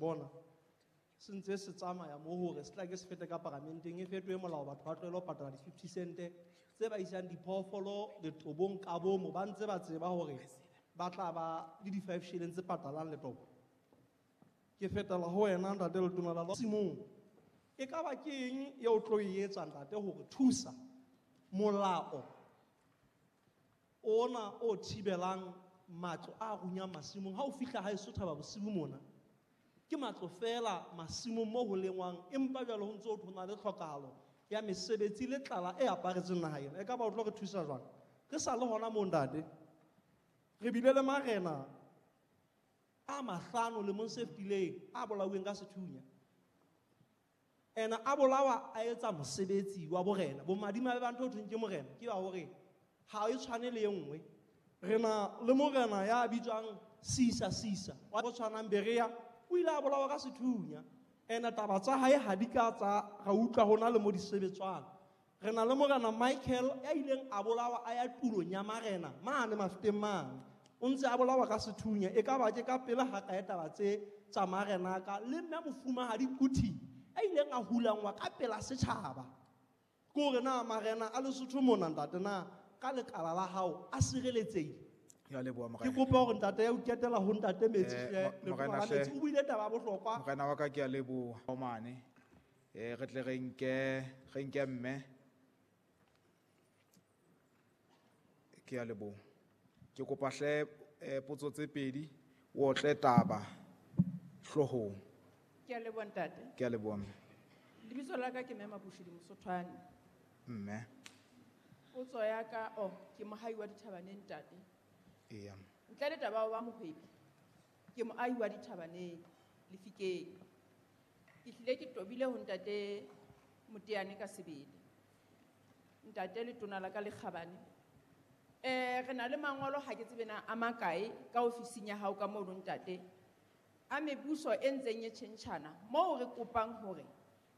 bona se ntse se tsamaya mo hore se tla ke se fete ka paramenteng e fetohe molao batho ba tlohele ho patala di-50 cent tse ba isang diphoofolo letobong ka bomo ba ntse ba tseba hore ba tla ba le di-5 shilling tse patalang letobo. Ke fetela ho wena ntate Letona la Simong. E ka ba ke eng eo o tlo e etsa ntate hore thusa molao ona o thibelang matlo a runyang masimong ha o fihla haeso Thaba Bosiu mona ke matlo fela masimong mo ho lengwang empa jwale ho ntse ho thona le tlhokahalo ya mesebetsi le tlala e aparetseng naha ena. E ka ba o tlo re thusa jwang? Re sa le hona moo ntate, re bile le marena a mahlano lemong se fetileng a bolauweng ka sethunya. Ena a bolawa a etsa mosebetsi wa borena. Bomadimabe ba ntho ho thweng ke morena ke ba hore ha e tshwane le e nngwe. Re na le morena ya bitswang Sisa Sisa wa go tshwanang Berea, o ile a bolawa ka sethunya. Ena taba tsa hae ha di ka tsa ra utlwa hona le mo di sebetswang. Re na le morena Michael ya ileng a bolawa a ya tulong ya marena mane Mafeteng mane. O ntse a bolawa ka sethunya. E ka ba ke ka pele ha kae taba tse tsa marena ka le mme mofumahadi Kuti a ileng a hulangwa ka pela setjhaba. Ke hore na marena a Lesotho mona ntate na ka lekala la hao a sireletsehile? Ke a leboha, Ke morena. kopa hore ntate ya o ketela ho ntate Metsi hle, Letona Morena la hle. Metsi. O buile taba ya bohlokwa. Morena wa ka ke a leboha. O mane. Re tle re nke mme. Ke a leboha. Ke kopa hle potso tse pedi, o otle taba hloohong. Ke a leboha ntate. Ke a leboha mme. Lebitso la ka ke Mme Mabushidi Mosothwane. Mme. Potso ya ka, oh, ke mohai wa dithabaneng ntate. Eya. Ntle le taba wa mohwebi, ke moahi wa dithabaneng Lefikeng. Ke hlile ke tobile ho ntate Moteane ka sebele. Ntate letona la ka le kgabane. Re na le mangolo ha ke tsebe na a makae ka ofising ya hao ka mono ntate. A mebuso e ntseng e tjhentjhana moo re kopang hore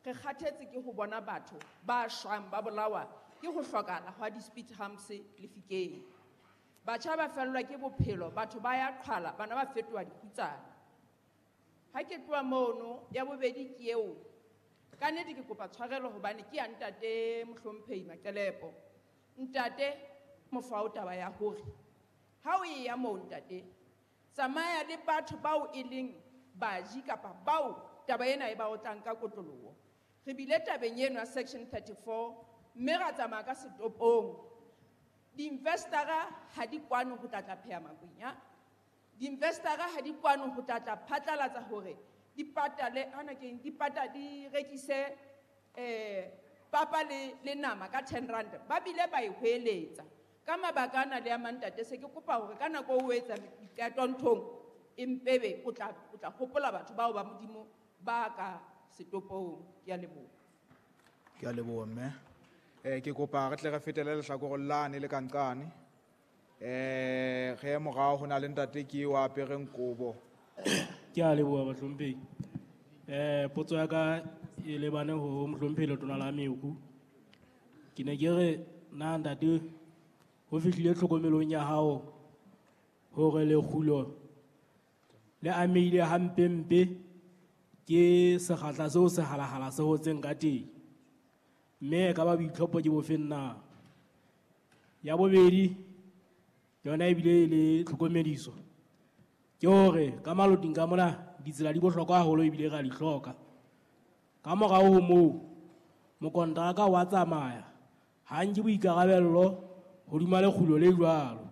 re kgathetse ke ho bona batho ba shwang ba bolawa ke ho hlokahala hwa di-speed humps Lefikeng. Batjha ba fellwa ke bophelo, batho ba ya qhwala, bana ba fetoha dikhutsana. Ha ke tloha mono, ya bobedi ke eo. Ka nnete ke kopa tshwarelo hobane ke ya ntate Mohlomphehi Maqelepo. Ntate mofao taba ya hore ha o e ya moo ntate, tsamaya le batho bao e leng baji kapa bao taba ena e ba otlang ka kotloloho. Re bile tabeng eno ya section 34 mme ra tsamaya ka setopong. Di-investor-a ha di kwano ho tla tla pheha makwenya. Di-investor-a ha di kwano ho tla tla phatlalatsa hore di patale, hana ke eng, di pata, di rekise, papa le nama ka 10 rand. Ba bile ba e hweletsa. Ka mabaka ana le a mang ntate, se ke kopa hore ka nako o etsa diqeto nthong, empebe o tla hopola batho bao ba Modimo ba ka setopong. Ke a leboha. Ke a leboha mme. Ke kopa re tle re fetele lehlakoreng lane le kanqane. Re ye morao ho na le ntate ke eo a apereng kobo. Ke a leboha bahlomphehi. Potso ya ka e lebane ho mohlomphehi Letona la Meru. Ke ne ke re na ntate ho fihlile tlhokomelong ya hao hore lekgulo le amehile hampempe ke sekgahla seo sehalahala se hotseng ka teng. Mme e ka ba boitlhopo ke bofeng na? Ya bobedi yona ebile e le tlhokomediso ke hore ka maloting ka mona ditsela di bohlokwa haholo ebile re a di hloka. Ka morao ho moo mokonteraka wa tsamaya, ha nke boikarabello hodima lekgulo le jwalo.